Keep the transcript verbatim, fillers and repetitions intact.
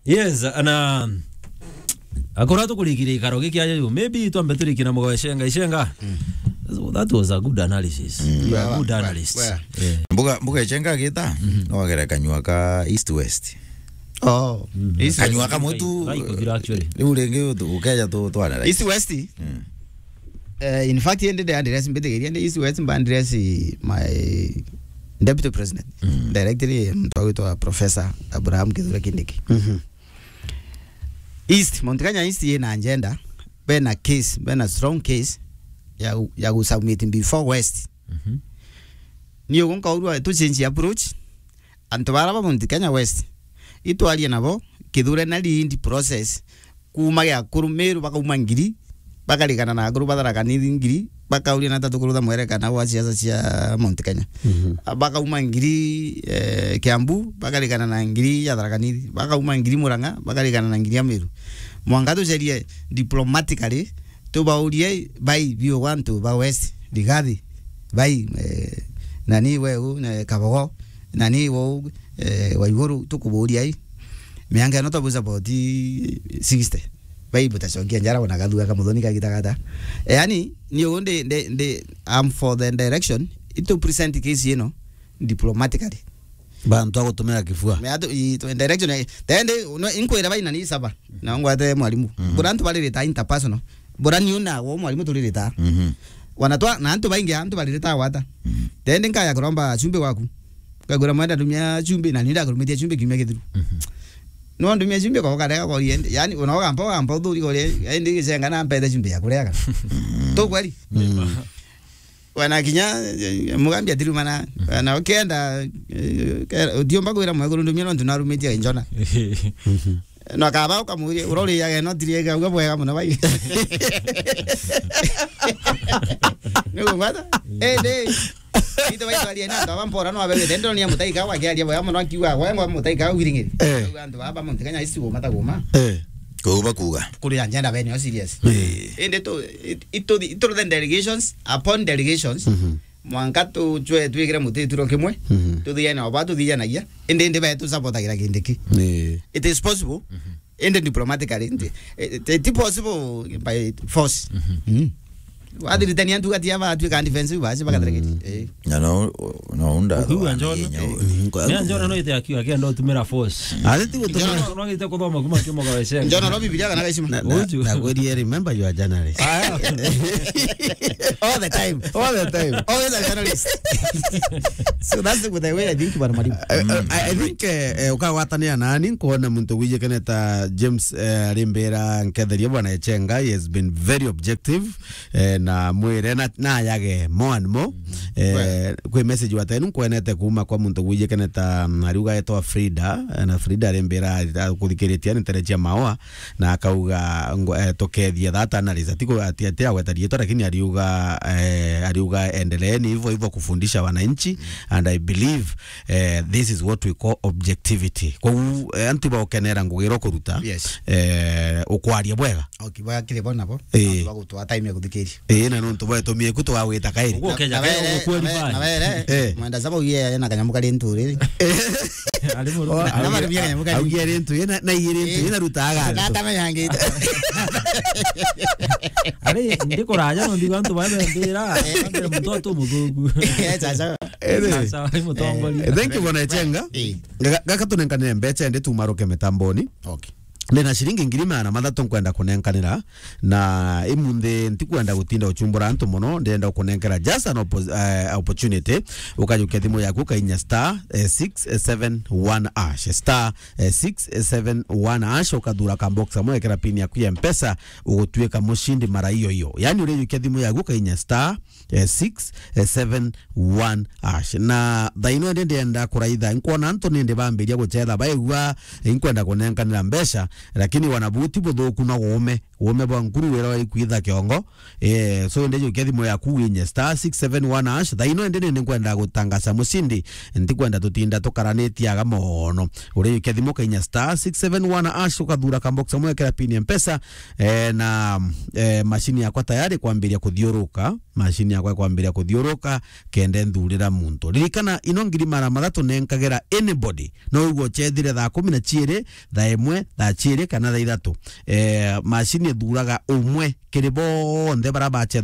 Yes, na akora tukurikire ikaro giki aja yu. Maybe twambe turiki na Mugabe Ichenga. Ichenga. So that was a good analysis. You are a good analyst. Yeah. Mbuga, Mbuga Ichenga agita, no agere kanyua ka East West. Oh. East Kanyua West. Ka mutu. Like, like, actually. Riu ringi utu-, ukeja tu, tu analyze. East West? Eh, in fact, indi ndi address, mbitikiria ndi East West, mba address my deputy president. Directly, muntu agwitwa Professor Abraham Kithure Kindiki. East, Mount Kenya East yina agenda, bena case, bena strong case ya, ya gu submit before West. Ni ugu nkaurua tu change approach, antu bara ba Mount Kenya West, itwarie nabo, Kithure na lead process, kuuma Giakuru Meru bakauma ngiri, bakarikana na Akuru ba Tharaka Nithi ngiri, bakauria na tatu kurutha mwerekana wa siasa cia Mount Kenya. Bakauma ngiri, eh, Kiambu, bakarikana na ngiri ya Tharaka Nithi, bakauma ngiri Murang'a, bakarikana na ngiri ya Meru. Mwanka tucerie diplomatically, tubaurie bai biu gwa antu ba West, Rigathi, bai, eh, nani weu, ne Kabogo, nani weu, eh, Waiguru, tukuburia ai. Mianka ino twabuza about sixty. Bai butacokia njara bona gathua ka muthoni kagita gata. Eh, yani, ni ugu ndi, ndi, ndi, I'm for the direction. Itu present case ino diplomatically. Bantu a gutumira kifua. Me atu, i, tu, direction, eh, tende, no, inkwira baina ni saba. Na ngwate mwalimu. Bura antu baririta interpersonal. Bura ni una wo mwalimu turirita. Wana twa, na antu baingi antu baririta gwata. Tende nkaya kuromba chumbi gwaku. Ngagwira mwenda ndumia chumbi, na ninda kurumitia chumbi kiumia githiru. No ndumia chumbi kwa karega kwa ende. Yani, una oga mpo, mpo thuri kwa ende, Ichenga na mpete chumbi ya kurega. Tu kweli? Wana kinya, eh, mugambi atirumana. Wana ukienda, eh, ke-, utiumba kwira mwekuru ndumia nontu narumitie njona. No kaba ukamuria, urori yage no tiri yage uga bwega muno bai. Ni kungwata? Eh, de. Ito bai twari na ndo bampora no abegete ndo ni mutaika wa kiaria bwega muno akiwa gwe ngo mutaika wiringiri. Eh. Antu baba Mount Kenya isi goma ta goma. Eh. Kuuba kuuga. Kuri anjenda bene o serious. Eh. Ende to, it, ito, ito the delegations upon delegations. Mwanka tucwe twikire muti ituro kimwe, tuthiane oba tuthianagia, indi indi betu supportagira Kindiki. It is possible, indi diplomatically, nti, it, it possible by force. Wathiritania ntuga tia batwika defensive basi bagatereketi. Eh. Na no, no unda. Ukiuga Njona. Ni Njona no ite akiuga kenda utumira force. Ati ti gutumira. Njona no ite kuthoma kuma kimo kwa Ichenga. Njona no Biblia kana gaicima. Na, na, Uju. Na kweli, remember you are journalist. All the time. All the time. Always a journalist. So that's the, the way I think, bwana mwalimu. I, I, I think, eh, eh, ukagwatanira nani, nkuona muntu wijikaneta James, eh, arimbira nketheria bwana Ichenga, he has been very objective, eh, na mwire na, na yage more and more. Eh, kwi message watenu nkwenete kuma kwa muntu wijikaneta, mm, ariuga etwa Frida, eh, na Frida arimbira, ah, kuthikiritia ni ntere cia maoa. Na akauga ngo-, eh, tukethia that analyst. Ati ku-, ati, ati agweta riitwa, lakini ariuga, eh, ariuga endeleeni hivyo hivyo kufundisha wananchi, and I believe, eh, this is what we call objectivity. Kwa hiyo, eh, antu baukenera ngugi iro kuruta, eh, ukwaria bwega. Okay, bwa kile bona bo. Eh. Antu bagutwa time ya kuthikiria. Eh, na nontu bwetumie ku twawita kairi. Uguo Na, ukeja na kairi, were, uguo na were, na were, eh, mwenda saba uye na kanyamu kari nturiri. Ari muru. Na bari bia kanyamu kari. Augia rintu yena, na iye rintu yena rutaga. Na tama yangi. Ari ndikuraja no ndiga antu baba mbira, mbira muntu atu muthungu. Eh, sasa. Sasa, ari mutongoria. Eh, thank you, bwana Ichenga. Eh. Ga-, gaka tunenkanire mbecha ndi tumaruke mitamboni. Okay. Ndina ciringi ngiri magana mathatu nkwenda kunenkanira, na imunthi ntikwenda gutinda uchumbura antu mono, ndenda kunenkera just an oppo-, eh, opportunity, ukajukia thimu yaku ukainya star, eh, six seven one hash, star, eh, six seven one hash, ukathura ka box amwe, ekera pin yaku ya Mpesa, ugutuika mushindi mara iyo iyo. Yani urijukia thimu yaku ukainya star, eh, six seven one hash. Na thaino ndi ndienda kuraitha, nkwona antu nindi bambiria guchetha, baigua, eh, inkwenda kunenkanira mbeca, lakini wana buti buthuku no uume, uume bwa nkuru wira wari kwitha kiongo. Eh, so ndi jukia thimu yaku winye star six seven one hash. Thaino ndi nindi nkwenda gutangaca mushindi, ntikwenda tutinda tukaranitie aga mono. Urijukia thimu kainya star six seven one hash, ukathura ka box amwe, ekera pin ya Mpesa, eh, na, eh, mashini yakwa tayari kwambiria kuthiuruka, mashini nakwa kwambiria kuthiuruka, kenda nthurira muntu. Ririkana, ino ngiri magana mathatu nenkagera anybody. No uigwe uchethire thaa kumi na ciiri, thaa imwe, thaa ciiri kana thaa ithatu. Eh, macini ithuraga umwe kiri bonthe bara bacetha